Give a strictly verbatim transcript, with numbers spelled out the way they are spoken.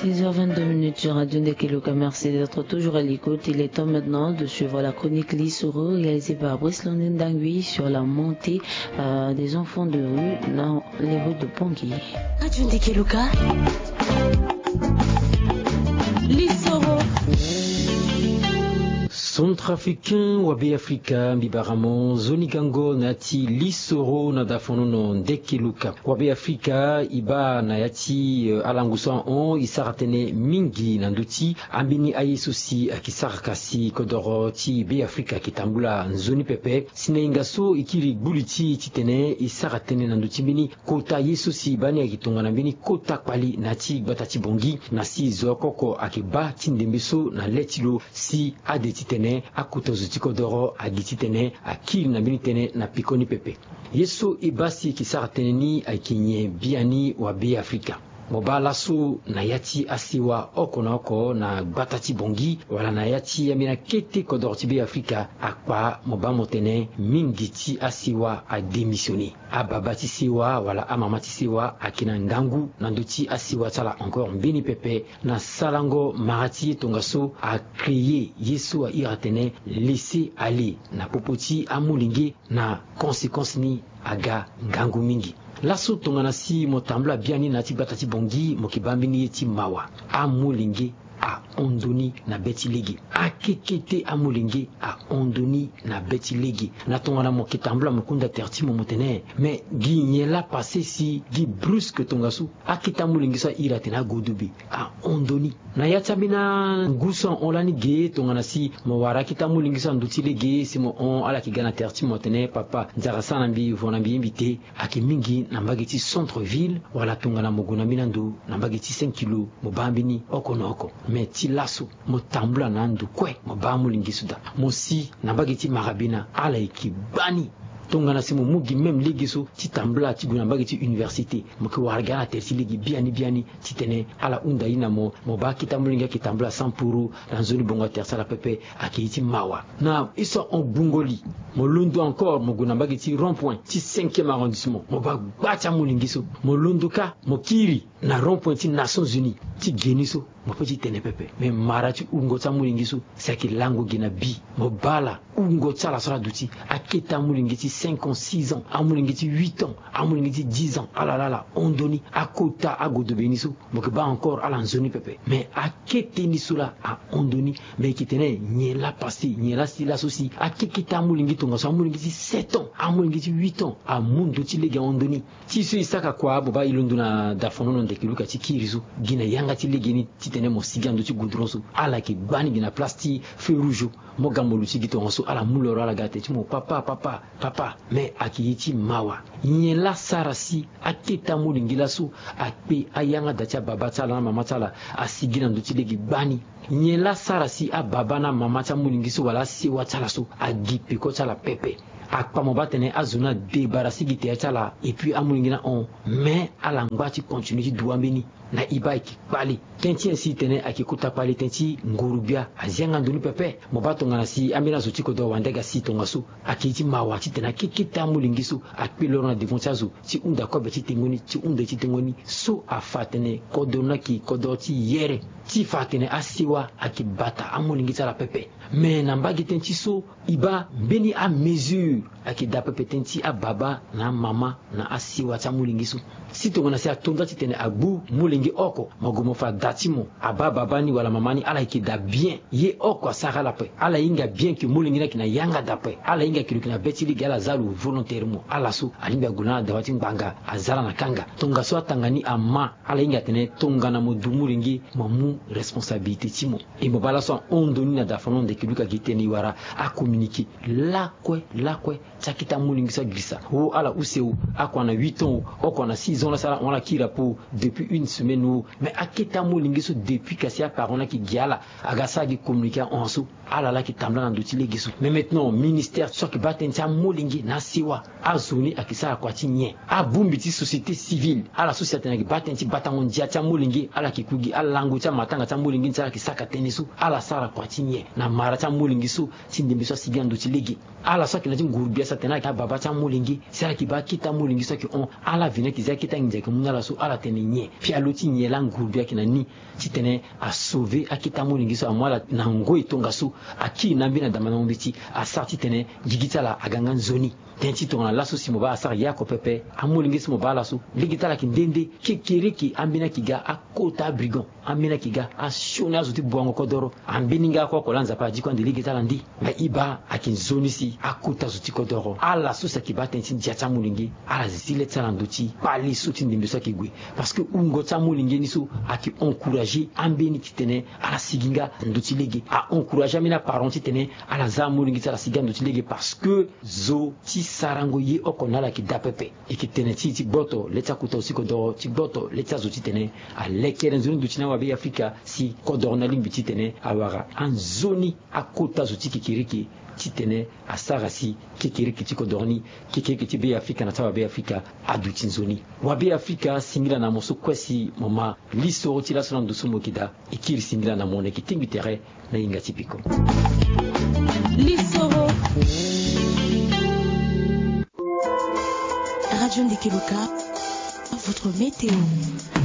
Six heures vingt-deux minutes sur Radio Ndekeluka. Merci d'être toujours à l'écoute. Il est temps maintenant de suivre la chronique Lisoro réalisée par Brice Londindangui sur la montée euh, des enfants de rue dans les rues de Pongi. Radio Ndekeluka. Lisoro. Centrafricain wa Be Afrika, mbi bara mo nzoni gango na ya ti Lisoro na dafonono Ndekeluka. Wa Be Afrika, e baa na ya ti, euh, alangu so ahon, e sara tënë mingi na ndö ti ambeni aye so si ayeke sara ka si kodoro ti Be Afrika ayeke tambula nzoni pepe. Si na hinga so e kiri gbu li ti e titene e sara tënë na ndö ti mbeni kota ye so si e baa ni ayeke tongana mbeni kota kpali na ya ti gbata ti Bongi, na si zo oko oko ayeke baa ti ndembe so na le ti lo si ade titene akota zo ti kodoro agi titene akiri na mbeni tënë na pekoni pepe. Ye so e baa si e yeke sara tënë ni ayeke nyen biani wa Be Afrika? Mo baa laso na ya ti asewa oko na oko na gbata ti Bongi wala na ya ti ambeni akete kodoro ti Be Afrika, akpa mo baa mo tene mingi ti asewa adémissionné. Ababa ti sewa wala amama ti sewa ayeke na ngangu na ndö ti asewa ti ala encore mbeni pepe na sarango mara ti ye tongaso a créer ye so a iri atene laisser aller na popo ti amolenge. Na conséquence ni aga ngangu mingi. Laso tongana si mo tambula biani na ya ti gbata ti Bongi, mo yeke baa mbeni ye ti mawa. Amolenge ahon ndoni na be ti lege. Akekete amolenge ahon ndoni na be ti lege. Na tongana mo yeke tambula mo kunda tere ti mo, mo tene, mais gi nyen laa passé si gi brusque tongaso akete amolenge so a iri atene agodobe ahon ndoni? Na ya ti ambeni angu so ahon lani ge, tongana si mo wara akete amolenge so na ndö ti lege si mo hon, ala yeke ga na tere ti mo atene papa, nzara sara na mbi, vo na mbi ye mbi te. Ayeke mingi na mbage ti centre ville, wala tongana mo gue na mbeni ando na mbage ti cinq kilo, mo baa mbeni oko na oko. Mais ti laso mo tambula na ando kue, mo baa amolenge so daa. Mo si na mbage ti Marabena, ala yeke gbani. Tongana si mo mu gi même lege so ti tambula ti gue na mbage ti université, mo yeke wara gi ala tere ti lege biani biani titene ala hunda ye na mo. Mo baa akete amolenge ayeke tambula sans poro na nzoni bongo atere ti ala pepe. Ayeke ye ti mawa. Na ye so ahon gbungo li, mo londo encore mo gue na mbage ti rond point ti cinquième arrondissement, mo baa gba ti amolenge so. Mo londo kâ mo kiri na rond point ti Nations Unies ti ge ni so, mo peut ti tene pepe. Mais mara ti wungo ti amolenge so si ayeke lango ge na bi. Mo baa ala, wungo ti ala so ala duti, akete amolenge ti cinq ans, six ans, amolenge ti huit ans, amolenge ti dix ans, ala laa ala hon ndoni. Akota agodobe ni so, mo yeke baa encore ala nzoni pepe. Mais akete ni so laa ahon ndoni. Mais e yeke tene nyen laa passé, nyen laa si laso si akekete amolenge tongaso, amolenge ti sept ans, amolenge ti huit ans amu ndö ti lege ahon ndoni? Ti so e saka kua, mo baa e londo na dafonono Ndekeluka ti kiri so, gi na yanga ti lege ni titene mo sigi na ndö ti goudron so, ala yeke gbani gi na place ti feu rouge. Mo ga mo luti gi tongaso, ala mu loro, ala ga tere ti mo papa, papa, papa. Mais ayeke ye ti mawa. Nyen laa sara si akete amolenge laso akpe ayanga da ti ababa ti ala na amama ti ala, asigi na ndö ti lege gbani? Nyen laa sara si ababa na amama ti amolenge so wala asewa ti ala so agi peko ti ala pepe? Akpa mo baa tene azo ni adébarrasser gi tere ti ala, et puis amolenge ni ahon. Mais ala ngba ti continuer ti dua mbeni. Na e baa e yeke kpale. Tënë ti nyen si e tene ayeke kota kpale? Tënë ti nguru-gbia azi yanga ndo ni pepe. Mo baa tongana si ambeni azo ti kodoro wande aga si tongaso, ayeke ye ti mawa titene akekete amolenge so akpe loro na devant ti azo ti hunda kobe ti tengo ni, ti hunda ye ti tengo ni. So afa atene kodoro ni ayeke kodoro ti yere, ti fa atene asewa ayeke bata amolenge ti ala pepe. Mais na mbage tënë ti so, e baa mbeni amesure ayeke daa pepe tënë ti ababa na amama na asewa ti amolenge so. Si tongana si ato nda titene agbu molenge oko, mo gue mo fa da ti mo, abaa baba ni wala mama ni, ala yeke daa bien. Ye oko asara ala ape. Ala hinga bien ke molenge ni ayeke na yanga daa ape. Ala hinga ke lo yeke na be ti lege, ala za lo volontairement. Ala so alingbi ague lani na dawa ti ngbanga, aza ala na kanga. Tongaso atanga ni ama, ala hinga atene tongana mo du molenge, mo mu responsabilité ti mo. E mo baa laso ahon ndo ni na dafa ni, ndo eke luka gi tënë e wara acommuniqué lakue lakue ti akete amolenge so agirisa. O ala use o, oko ana huit ans o, oko ana six ans, la so ala hon ala kiri apo depuis une semaine o. Mais akete amolenge so depuis kasi aparent ni ayeke gi ala, aga sara gi communiqué ahon so. Ala laa ayeke tambula na ndo ti lege so. Mais maintenant ministère so ayeke baa tënë ti amolenge na asewa, azo ni ayeke sara kua ti nyen? Abongbi ti société civile, ala so si atene ayeke baa tënë ti batango ndia ti amolenge, ala yeke ku gi alango ti amatanga ti amolenge ni si ala yeke saka tënë so, ala sara kua ti nyen na mara ti amolenge so ti ndembe so asigi na ndo ti lege? Ala so ayeke na ya ti nguru-gbia so atene ala yeke ababa ti amolenge, si ala yeke baa akete amolenge so ayeke hon, ala veni ayeke zi akete anginza ayeke mu na ala so, ala tene nyen pialo ti nyen laa ngurube ayeke na ni titene asauve akete amolenge so amu ala na ngoi tongaso. Akiri na ambeni adama na mbeti asara titene gigi ti ala aga nga nzoni. Tënë ti tongana laso si mo baa asara ye oko pepe. Amolenge so mo baa ala so lege ti ala ayeke nde nde. Kekereke ambeni ayeke ga akota abrigand. Ambeni ayeke ga asioni azo ti buango kodoro. Ambeni nga oko oko laa Nzapa adi kue ande lege ti ala nde. Mais e baa ayeke nzoni si akota zo ti kodoro ala so si ayeke baa tënë ti ndia ti amolenge ala zi le ti ala na ndö ti kpale so ti ndembe so ayeke gue. Parce que wungo ti amolenge ni so ayeke encourager ambeni titene ala sigi nga na ndö ti lege. A encourager ambeni aparent titene ala za amolenge ti ala sigi nga na ndö ti lege parce que zo ti sarango ye oko na ala ayeke daa pepe. E yeke tene ti ti gboto le ti akota zo ti kodoro ti gboto le ti azo titene alekere nzoni ndö ti na wabe Afrika si kodoro ni alingbi titene awara anzoni akota zo ti kekereke titene asara si kekereke ti kodoro ni kekereke ti be Afrika na ti awabe Afrika aduti nzoni. Wabe Afrika singila na mo so kue si mo ma lisoro ti laso na ndo so mo yeke daa. E kiri singila na mo na yeke tingbi tere na hinga ti peko. Lisoro. Radio Ndeke Loka, votre météo.